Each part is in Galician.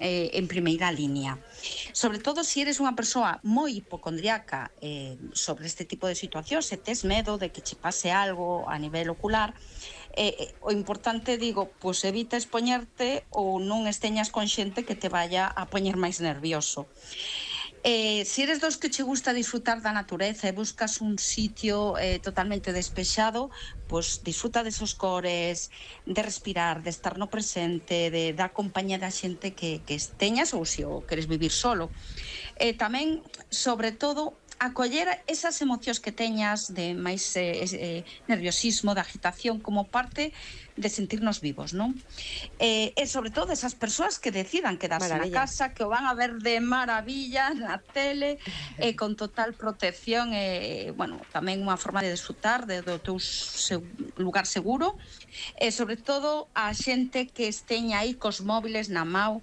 en primeira liña. Sobre todo se eres unha persoa moi hipocondriaca sobre este tipo de situacións, se tes medo de que che pase algo a nivel ocular, o importante, digo, pois evita expoñerte ou non esteñas con xente que te vaya a poñer máis nervioso. Se eres dos que che gusta disfrutar da natureza e buscas un sitio totalmente despexado, pois disfruta desos cores, de respirar, de estar no presente, da compañía da xente que teñas, ou se o queres vivir solo. Tamén, sobre todo, acoller esas emocións que teñas de máis nerviosismo, de agitación, como parte de sentirnos vivos, non? E sobre todo esas persoas que decidan quedarse na casa, que o van a ver de maravilla na tele, con total protección, bueno, tamén unha forma de disfrutar do teu lugar seguro, e sobre todo a xente que esteña aí cos móviles na mão.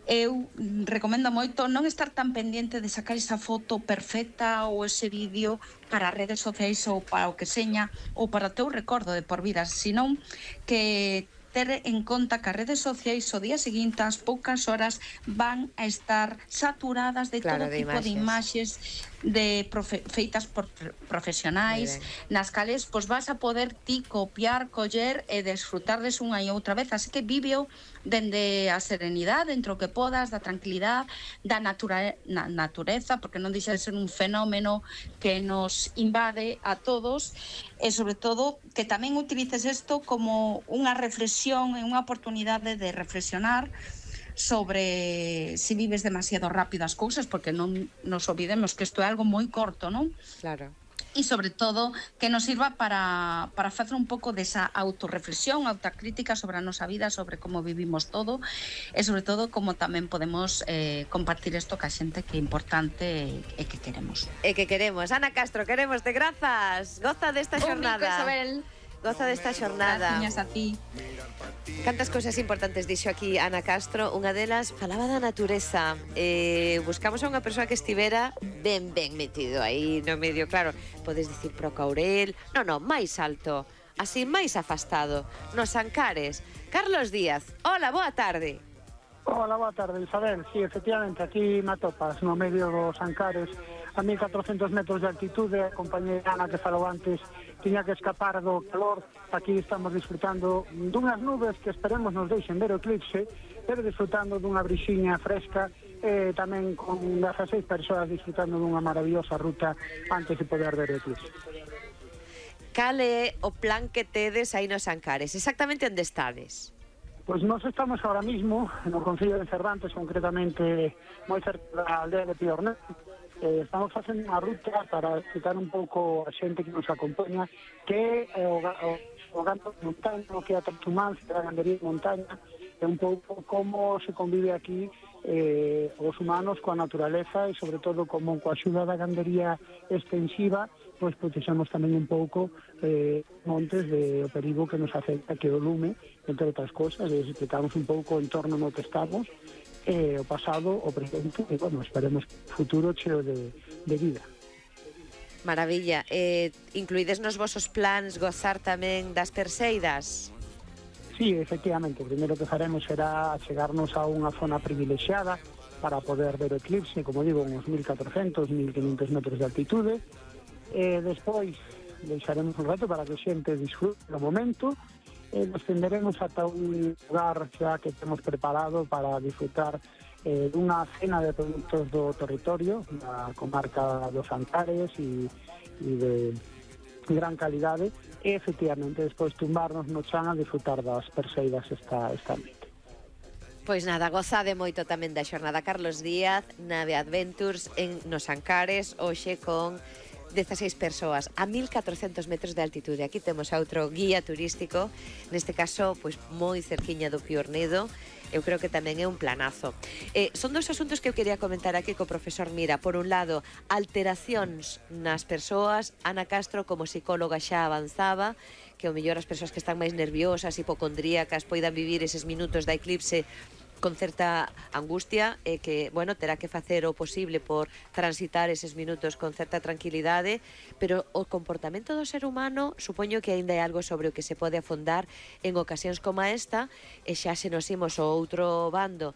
Eu recomendo moito non estar tan pendiente de sacar esa foto perfecta ou ese vídeo para as redes sociais ou para o que seña ou para o teu recordo de por vida, senón que ter en conta que as redes sociais o día seguinte, ás poucas horas, van a estar saturadas de todo tipo de imaxes feitas por profesionais, nas cales pois vas a poder ti copiar, coller e desfrutarles unha e outra vez, así que víveo dende a serenidade, entre o que podas, da tranquilidade, da natureza, porque non deixa de ser un fenómeno que nos invade a todos, e sobre todo que tamén utilices isto como unha reflexión e unha oportunidade de reflexionar sobre se vives demasiado rápido as cousas, porque non nos olvidemos que isto é algo moi corto, non? Claro. E sobre todo que nos sirva para facer un pouco desa autorreflexión, autocrítica sobre a nosa vida, sobre como vivimos todo e sobre todo como tamén podemos compartir isto ca xente que é importante e que queremos. Ana Castro, queremos, grazas. Goza desta xornada. Un bico, Isabel. Goza desta xornada. Gracias a ti. Cantas cousas importantes dixo aquí Ana Castro. Unha delas falaba da natureza. Buscamos a unha persoa que estivera ben metido aí no medio. Claro, podes dicir pro Caurel. Non, máis alto, así máis afastado, nos Ancares. Carlos Díaz, hola, boa tarde. Hola, boa tarde, Isabel. Sí, efectivamente, aquí me atopas no medio dos Ancares, a 1400 metros de altitude. A compañera Ana que falou antes tiña que escapar do calor. Aquí estamos disfrutando dunhas nubes que esperemos nos deixen ver o eclipse, pero disfrutando dunha brixiña fresca, tamén con 16 persoas disfrutando dunha maravillosa ruta antes de poder ver o eclipse. Cal é o plan que tedes aí nos Ancares? Exactamente onde estades? Pois nós estamos ahora mismo no Concello de Cervantes, concretamente moi cerca da aldea de Piornet. Estamos facendo unha ruta para explicar un pouco a xente que nos acompaña que é o gando de montaña, que é a Tartumán, que é a gandería de montaña, é un pouco como se convive aquí os humanos coa naturaleza e sobre todo como coa axuda da gandería extensiva pois protexamos tamén un pouco montes do perigo que nos afecta, que o lume, entre outras cosas, e explicamos un pouco o entorno no que estamos, o pasado, o presente, e, bueno, esperemos futuro cheo de vida. Maravilla. Incluídes nos vosos plans gozar tamén das perseidas? Sí, efectivamente. O primeiro que faremos será chegarnos a unha zona privilexiada para poder ver o eclipse, como digo, uns 1400, 1500 metros de altitude. Despois deixaremos un rato para que a xente disfrute do momento e nos tenderemos ata un lugar xa que temos preparado para disfrutar dunha cena de produtos do territorio da comarca dos Ancares e de gran calidade e efectivamente despois tumbarnos no chan a disfrutar das perseidas esta noite. Pois nada, gozade moito tamén da xornada. Carlos Díaz, Nave Adventures nos Ancares, hoxe con 16 persoas a 1400 metros de altitude. Aquí temos a outro guía turístico, neste caso, pois moi cerquiña do Piornedo. Eu creo que tamén é un planazo. Son dos asuntos que eu quería comentar aquí co profesor Mira. Por un lado, alteracións nas persoas. Ana Castro, como psicóloga, xa avanzaba que o mellor as persoas que están máis nerviosas, hipocondríacas, poidan vivir eses minutos da eclipse con certa angustia e que, bueno, terá que facer o posible por transitar eses minutos con certa tranquilidade, pero o comportamento do ser humano supoño que aínda é algo sobre o que se pode afondar en ocasións como esta, e xa se nos imos ao outro bando